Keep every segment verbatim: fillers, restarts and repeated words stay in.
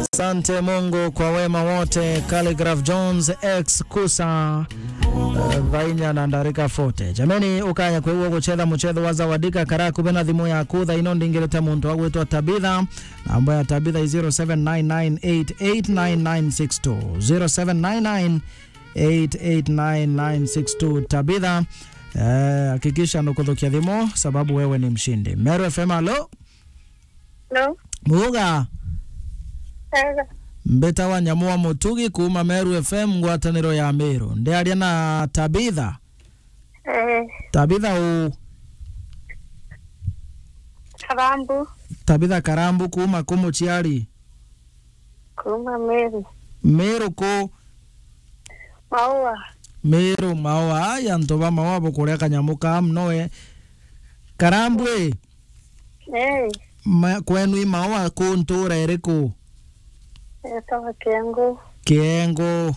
Asante Mungu kwa wema wote. Calligraph Jones, ex Kusa, eh, thainya na ndarika forty. Jameni, ukaya kwigua guchetha muchetho wa Zawadika, kara kuve na thimu yaku thaino ndingirite muntu agwitwa Tabitha. Namba ya Tabitha i zero seven nine nine eight eight nine nine six two. Zero seven nine nine eight eight nine nine six two. Tabitha, eh, hakikisha ndukuthukia thimu sababu wewe ni mshindi. Meru F M, alo? Hello? Muga? Ega. Mbeta wa Nyamu wa Mutugi kuma Meru F M, ngwataniro ya Meru. Ndiaria na Tabitha? Eh. Tabitha u? Karambu. Tabitha Karambu kuma ku muciari? Kuma Meru. Meru ku? Maua. Meru Maua. Ai, antu ba Maua bukuria kanyamu kaa muno we. Karambu i? Eh. Ma-, kwenu i Maua ku ntura iriku? Etawa Kiengu. Kiengu.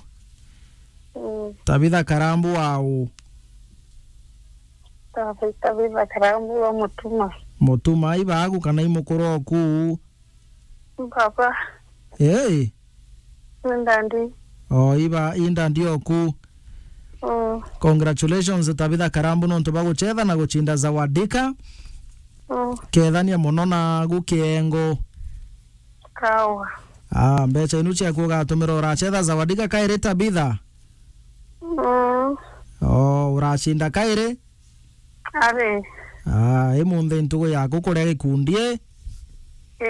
Mm. Tabitha Karambu wa u? Tabitha, Tabitha Karambu wa Mutuma. Mutuma, i bagu kana i mukuru oku? Baba. Hey. Ni ndandi. O, iba, i ndandi oku. Mm. Congratulations, Tabitha Karambu, nontu ba guchetha na guchinda Zawadika. Mm. Kethania muno nagu Kiengo. Kawa. Ah, mbecha inu ciaku ugatumira urachetha Zawadika kairi, Tabitha? Mm. O, uracinda kairi? Ari. Ah, imunthi ntugu yaku kuria gikundi i?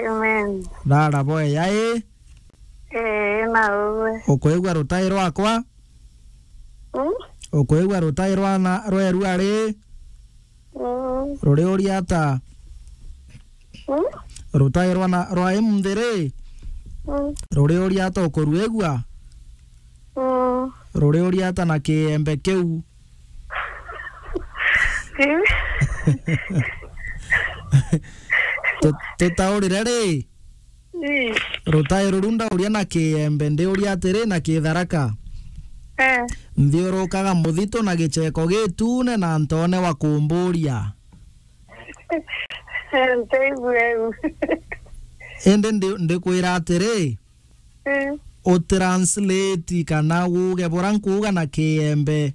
Amen. Rara boya i? Ee, na uwe. Ukwigua rutai rwakwa? Mm? Ukwigua rutai rwa na, rweru ari? Mm. Ruri uriata? Mm? Rutai rwa na, rwa imunthi ri? Mm. Ruri uriata ukuruigua? Mm. Ruri uriata na kiembe kiu? Tu-, tutaurire ri? Ii. Rutai ruru ndauria na kiembe, ndiuria atiri na kitharaka. Eh. Nthiurukaga muthitu na gicheko gitune na ntone wa kumburia. Nteithue u. Indi ndi-, ndikwira atiri, Mm. Utranslate kana uge bura nkuuga na kiembe,